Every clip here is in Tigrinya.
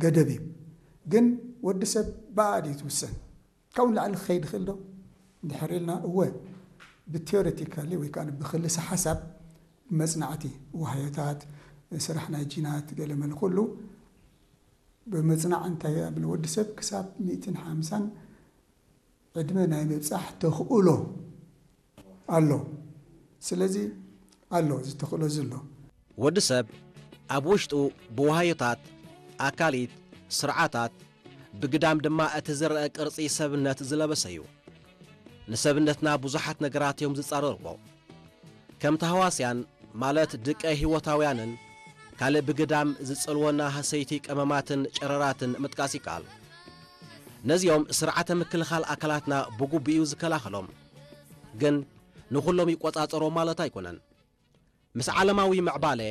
ገደብ እዩ። ግን ወዲ ሰብ ብኣኣ ድዩ ትውሰን? ካብኡ ንላዕሊ ክኸይድ ይኽእል ዶ? እንድሕር ኢልና፣ እወ፣ ብቴዎሬቲካሊ ወይ ከዓ ብክልሰ ሓሳብ፣ ብመጽናዕቲ፣ ዋህዮታት፣ ስራሕ ናይ ጂናት፣ ገለ መለ ኩሉ ብመጽናዕ እንታይ ኣብ ወዲ ሰብ ክሳብ ሚእትን ሓምሳን ዕድመ ናይ ምብጻሕ ተኽእሎ ኣሎ። ስለዚ ኣሎ፣ እዚ ተኽእሎ እዚ ኣሎ። ወዲ ሰብ ኣብ ውሽጡ ብዋህዮታት፣ ኣካሊት፣ ስርዓታት፣ ብግዳም ድማ እቲ ዝረአ ቅርጺ ሰብነት ዝለበሰ እዩ። ንሰብነትና ብዙሓት ነገራት እዮም ዝጻረርዎ። ከም ተህዋስያን፣ ማለት ድቀ ህይወታውያንን፣ ካልእ ብግዳም ዝጸልወና ሃሰይቲ ቀመማትን ጨረራትን ምጥቃስ ይከኣል። ነዚኦም ስርዓተ ምክልኻል ኣካላትና ብግቡእ እዩ ዝከላኸሎም። ግን ንኹሎም ይቆጻጸሮ ማለት ኣይኮነን። ምስ ዓለማዊ ምዕባለ፣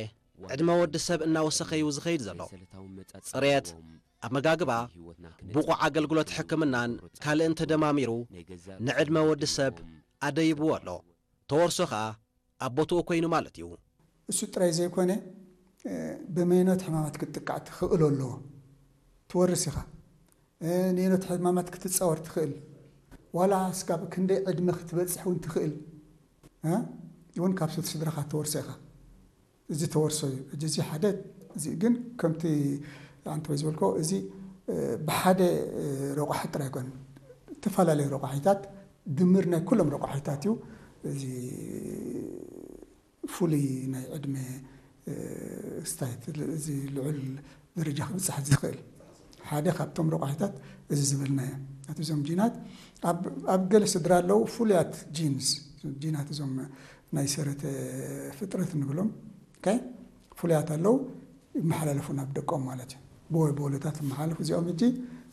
ዕድመ ወዲ ሰብ እናወሰኸ እዩ ዝኸይድ ዘሎ። ጽሬት፣ ኣመጋግባ፣ ብቑዕ ኣገልግሎት ሕክምናን ካልእን ተደማሚሩ ንዕድመ ወዲ ሰብ ኣደይብዎ ኣሎ። ተወርሶ ኸኣ ኣብ ቦትኡ ኮይኑ ማለት እዩ። እሱ ጥራይ ዘይኮነ፣ እ፣ ብመይኖት ሕማማት ክትጥቃዕ ትኽእሎ ኣለዎ። ትወርስ ኢኻ። እ፣ ነይኖት ሕማማት ክትጻወር ትኽእል። ዋላ እስካብ ክንደይ ዕድመ ክትበጽሕ እውን ትኽእል። እ፣ እውን ካብ ስድራኻ ትወርሶ ኢኻ። እዚ ተወርሶ እዩ። ሕጂ እዚ ሓደ፣ እዚ ግን ከምቲ ኣንተ ወይ ዝበልኮ፣ እዚ፣ እ፣ ብሓደ፣ እ፣ ረቋሒ ጥራይ ኣይኮነን። ዝተፈላለዩ ረቋሒታት፣ ድምር ናይ ኩሎም ረቋሒታት እዩ። እዚ ፍሉይ ናይ ዕድመ፣ እ፣ ስታይት፣ እዚ ልዑል ደረጃ ክብጽሕ ዝኽእል ሓደ ካብቶም ረቋሒታት እዚ ዝበልናዮ። ኣቲ እዞም ጂናት ኣብ፣ ኣብ ገለ ስድራ ኣለዉ ፍሉያት ጂንስ፣ ጂናት እዞም ናይ ሰረተ ፍጥረት ንብሎም፣ ኦኬ? ፍሉያት ኣለዉ፣ ይመሓላለፉ ናብ ደቆም ማለት እዩ። ብወ-፣ ብወለታት ይመሓላለፉ። እዚኦም ሕጂ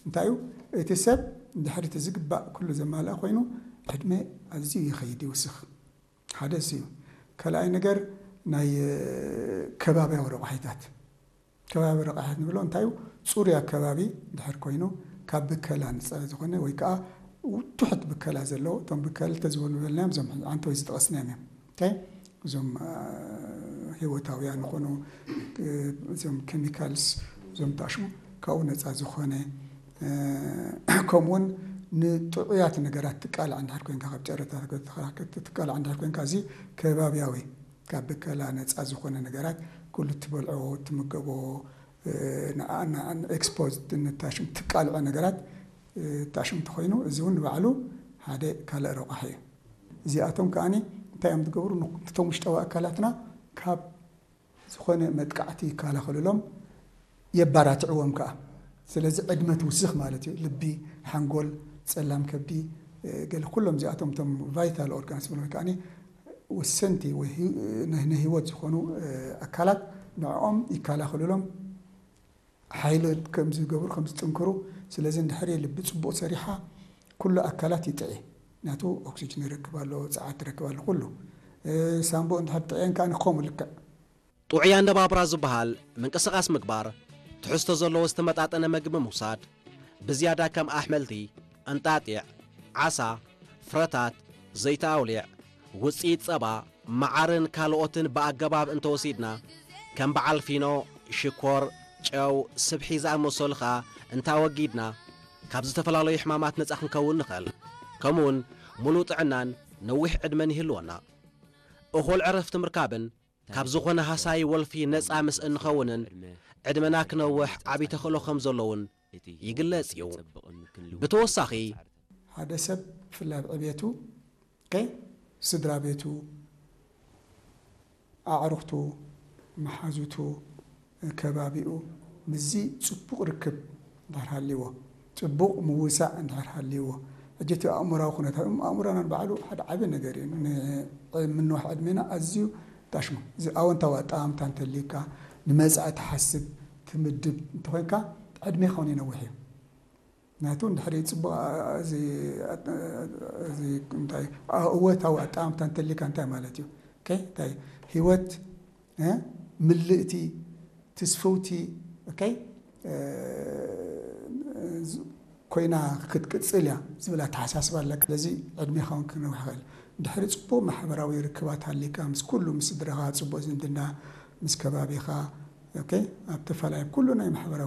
እንታይ እዩ? እቲ ሰብ ድሕሪት ዝግባእ ኩሉ ዘማልኣ ኮይኑ ዕድመ ኣዝዩ ይኸይድ፣ ይውስኽ። ሓደ እሱ እዩ። ካልኣይ ነገር ናይ፣ እ፣ ከባብያዊ ረቋሒታት። ከባቢ ረቋሒታት ንብሎ እንታይ እዩ? ጽሩይ ኣከባቢ ድሕር ኮይኑ ካብ ብከላ ንጻ ዝኾነ ወይ ከዓ ትሑት ብከላ ዘለዎ፣ እቶም ብከላ ተዝበሉ በልናዮም፣ እዞም ኣንተ ወይ ዝጠቐስናዮም እዮም። ኦኬ? እዞም፣ እ፣ ህይወታውያን ዝኾኑ፣ እ፣ እዞም ኬሚካልስ፣ እዞም ታሽሙ ካብኡ ነጻ ዝኾነ፣ እ፣ ከምኡውን ንጥዑያት ነገራት ትቃላዕ እንድሕር ኮንካ፣ ካብ ጨረታ ትቃላዕ እንድሕር ኮንካ፣ እዚ ከባብያዊ፣ ካብ ብከላ ነጻ ዝኾነ ነገራት፣ ኩሉ እትበልዖ፣ እትምገቦ፣ እ፣ ንኣ-፣ ንኣ-፣ ኤክስፖዝድ ንታሽም ትቃልዖ ነገራት፣ እ፣ ታሽም እንተኾይኑ፣ እዚ እውን ንባዕሉ ሓደ ካልእ ረቋሒ እዩ። እዚኣቶም ከኣኒ እንታይ እዮም ዝገብሩ? ን-፣ ነቶም ውሽጣዊ ኣካላትና ካብ ዝኾነ መጥቃዕቲ ይከላኸሉሎም፣ የባራትዕዎም ከኣ። ስለዚ ዕድመ ትውስኽ ማለት እዩ። ልቢ፣ ሓንጎል፣ ጸላም ከብዲ፣ እ፣ ገለ ኩሎም እዚኣቶም እቶም ቫይታል ኦርጋንስ ወይ ከኣኒ ወሰንቲ ወይ ህይ-፣ ናይ፣ ናይ ህይወት ዝኾኑ፣ እ፣ ኣካላት ንዕኦም ይከላኸሉሎም፣ ሓይሊ ከም ዝገብሩ፣ ከም ዝጥንክሩ። ስለዚ እንድሕር ልቢ ጽቡቕ ሰሪሓ፣ ኩሉ ኣካላት ይጥዒ። ናቱ ኦክሲጅን ይረክብ ኣሎ፣ ጸዓት ይረክብ ኣሎ፣ ኩሉ። እ፣ ሳንቡእ እንድሕር ጥዕየን ከኣ ንኸምኡ ልክዕ። ጥዑይ ኣነባብራ ዝበሃል ምንቅስቓስ ምግባር፣ ትሕዝቶ ዘለዎ ዝተመጣጠነ መግቢ ምውሳድ፣ ብዝያዳ ከም ኣሕምልቲ፣ እንጣጢዕ፣ ዓሳ፣ ፍረታት፣ ዘይቲ ኣውሊዕ፣ ውጽኢት ጸባ፣ መዓርን ካልኦትን ብኣገባብ እንተወሲድና፣ ከም በዓል ፊኖ፣ ሽኮር፣ ጨው፣ ስብሒ ዝኣመሰሉ ኸኣ እንታወጊድና፣ ካብ ዝተፈላለዩ ሕማማት ነጻ ክንከውን ንኽእል። ከምኡውን ምሉእ ጥዕናን ነዊሕ ዕድመን ይህልወና። እኹል ዕረፍቲ ምርካብን ካብ ዝኾነ ሃሳዪ ወልፊ ነጻ ምስ እንኸውንን ዕድመና ክነውሕ ዓቢ ተኽእሎ ከም ዘሎ እውን ይግለጽ እዩ። ብተወሳኺ፣ ሓደ ሰብ ብፍላይ ኣብ ዕቤቱ፣ ኦኬ፣ ስድራ ቤቱ፣ ኣዕሩኽቱ፣ መሓዙቱ፣ ከባቢኡ፣ ምስዚ ጽቡቕ ርክብ እንድሕር ሃልይዎ፣ ጽቡቕ ምውሳእ እንድሕር ሃልይዎ፣ ሕጂ እቲ ኣእምራዊ ኩነታት፣ ኣእምሮና ንባዕሉ ሓደ ዓቢ ነገር እዩ። ን-፣ ምንዋሕ ዕድሜና ኣዝዩ ታሽሙ። እዚ ኣወንታዊ ኣጠማምታ እንተልዩካ፣ ንመጻኢ ትሓስብ፣ ትምድብ እንተኾይንካ፣ ዕድሜኻ እውን ይነውሕ እዩ። ናቱ እንድሕር ጽቡቕ፣ አ-፣ እዚ፣ አ-፣ እዚ እንታይ፣ አ-፣ እወታዊ ኣጠማምታ እንተልዩካ እንታይ ማለት እዩ? ኦኬ፣ እንታይ ህይወት፣ እ፣ ምልእቲ፣ ትስፍውቲ፣ ኦኬ፣ እ፣ ዝ-፣ ኮይና ክትቅጽል እያ ዝብል ኣተሓሳስባ ኣለካ። ስለዚ ዕድሜኻ እውን ክነውሕ ይኽእል። እንድሕሪ ጽቡቕ ማሕበራዊ ርክባት ሃልዩካ፣ ምስ ኩሉ፣ ምስ ስድራኻ ጽቡቕ ዝምድና፣ ምስ ከባቢኻ፣ ኦኬ፣ ኣብ ተፈላለየ ኩሉ ናይ ማሕበራዊ